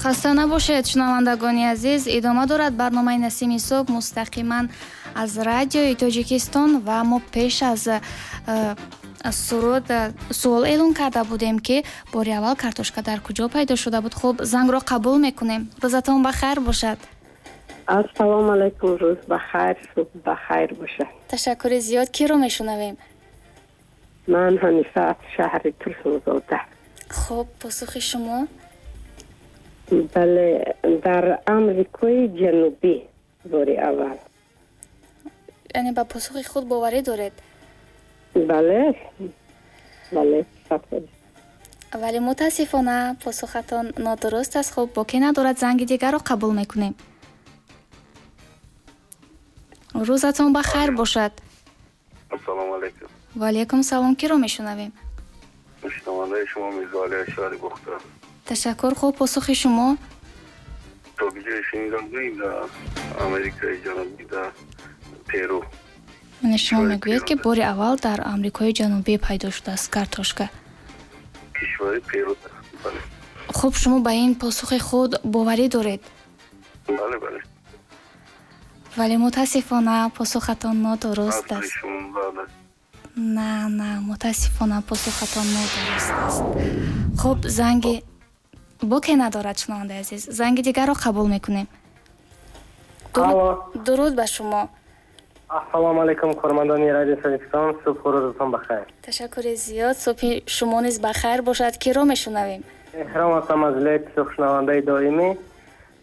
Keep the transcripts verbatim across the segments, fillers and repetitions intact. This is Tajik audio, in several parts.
Хаста набошед, шунавандагони азиз. Идома дорад барномаи Насими субҳ мустақиман аз радиои Тоҷикистон ва мо пеш аз э, суруд э, суол эълон карда будем, ки бори аввал картошка дар куҷо пайдо шуда буд. Хуб, зангро қабул мекунем. Рӯзатон ба хайр бошад. Ассалому алайкум, рӯз ба хайр, субҳ ба хайр бошад. Ташаккури зиёд. Киро мешунавем? Ман Ҳанифа аз шаҳри Турсунзода. Хуб, посухи шумо? Бале, дар Амрикои Ҷанубӣ бори аввал. Яъне ба посухи худ боварӣ доред? Бале, бале, сафар. Вале мутаассифона, посухатон нодуруст аст. Хуб, боке надорад, занги дигарро қабул мекунем. Рӯзатон ба хайр бошад. Ассалому алайкум. Ва алайкум салом. Киро мешунавем? Шунавандаи шумо Мирзоали аз шаҳри Бохтар. Ташаккур. Хуб, посухи шумо? То ҷое шунидам, дар Америкаи Ҷанубӣ, дар Перу. Яъне шумо мегӯед, ки бори аввал дар Амрикои Ҷанубӣ пайдо шудааст картошка? Кишвари Перу, бале. Хуб, шумо ба ин посухи худ боварӣ доред? Бале, бале. Вале мутаассифона, посухатон нодуруст аст. На, на, мутаассифона, посухатон нодуруст аст. Хуб, занги боке надорад, шунавандаи азиз. Занги дигарро қабул мекунем. Дуруд ба шумо. Ассалому алайкум, кормандони радиои Тоҷикистон, субҳу рӯзатон бахайр. Ташаккури зиёд, субҳи шумо низ бахайр бошад. Киро мешунавем? Эҳром ҳастам аз вилояти Суғд, шунавандаи доимӣ.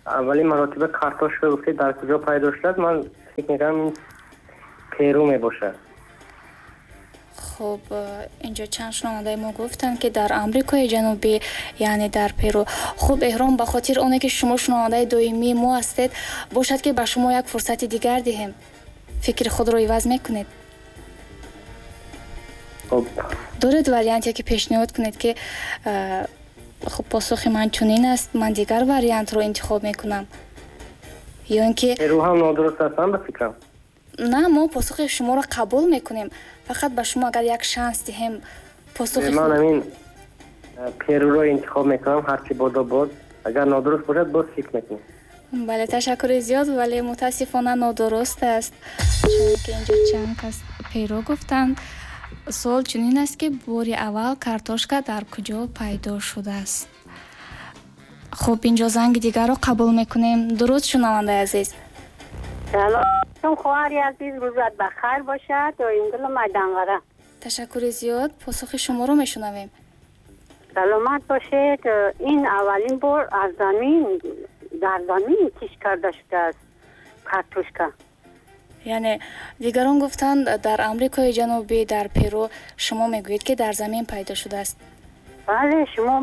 Аввалин маротиба картошка гуфтед дар куҷо пайдо шудааст, ман фикр мекунам ин Перу мебошад. Хуб, инҷо чанд шунавандаи мо гуфтанд, ки дар Амрикои Ҷанубӣ, яъне дар Перу. Хуб, Эҳром, ба хотири оне ки шумо шунавандаи доимии мо ҳастед, бошад, ки ба шумо як фурсати дигар диҳем. Фикри худро иваз мекунед? Хуб. Доред варианте, ки пешниҳод кунед, ки хуб, посухи ман чунин аст, ман дигар вариантро интихоб мекунам? Ё ин ки Перу ҳам нодуруст аст, ба фикрам. На, мо посухи шуморо қабул мекунем. Фақат ба шумо агар як шанс диҳем, посухи ман ҳамин Перуро интихоб мекунам, ҳарчи бодо бод. Агар нодуруст бошад, боз фикр мекунем. Бале, ташаккури зиёд, вале мутаассифона нодуруст аст, чунки инҷо чанд кас Перу гуфтанд. Суол чунин аст, ки бори аввал картошка дар куҷо пайдо шудааст. Хуб, инҷо занги дигарро қабул мекунем. Дуруд, шунавандаи азиз. Салом, хоҳари азиз, рӯзат ба хайр бошад. Доимгул Майданғара. Ташаккури зиёд, посухи шуморо мешунавем. Саломат бошед. Ин аввалин бор аз замин, дар замин кишт карда шудааст картошка. Яъне дигарон гуфтанд дар Амрикои Ҷанубӣ, дар Перу, шумо мегӯед, ки дар замин пайдо шудааст. Бале, шумо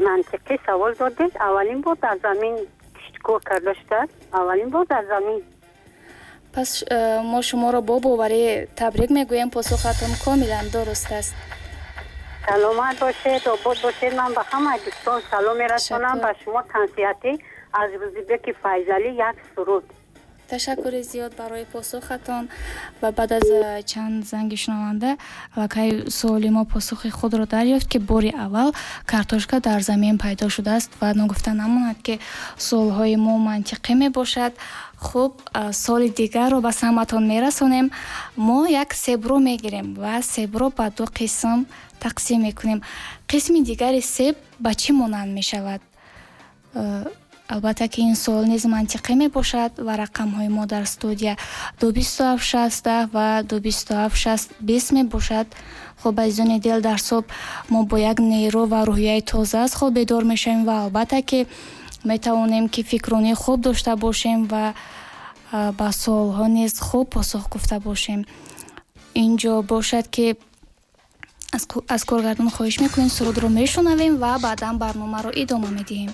мантиқӣ савол додед. Аввалин бор дар замин кишткор карда шудааст, аввалин бор дар замин. Пас э, мо шуморо бо боварӣ табрик мегӯем, посухатон комилан дуруст аст. Саломат бошед, обод бошед. Ман ба ҳамаи дӯстон салом мерасонам, ба шумо тансиҳатӣ аз Рӯзибеки Файзалӣ як суруд. Ташаккури зиёд барои посухатон. Ва баъд аз чанд занги шунаванда аллакай суоли мо посухи худро дарёфт, ки бори аввал картошка дар замин пайдо шудааст. Ва ногуфта намонад, ки суолҳои мо мантиқӣ мебошад. Хуб, суоли дигарро ба самъатон мерасонем. Мо як себро мегирем ва себро ба ду қисм тақсим мекунем. Қисми дигари себ ба чӣ монанд мешавад? Албатта, ки ин суол низ мантиқӣ мебошад ва рақамҳои мо дар студия ду бисту ҳафт шаст даҳ ва ду бисту ҳафт шаст бист мебошад. Хуб, азизони дил, дар субҳ мо бо як нерӯ ва рӯҳияи тоза аз хоб бедор мешавем ва албатта, ки метавонем, ки фикронии хуб дошта бошем ва ба суолҳо низ хуб посух гуфта бошем. Инҷо бошад, ки аз коргардон хоҳиш мекунем, сурудро мешунавем ва баъдан барномаро идома медиҳем.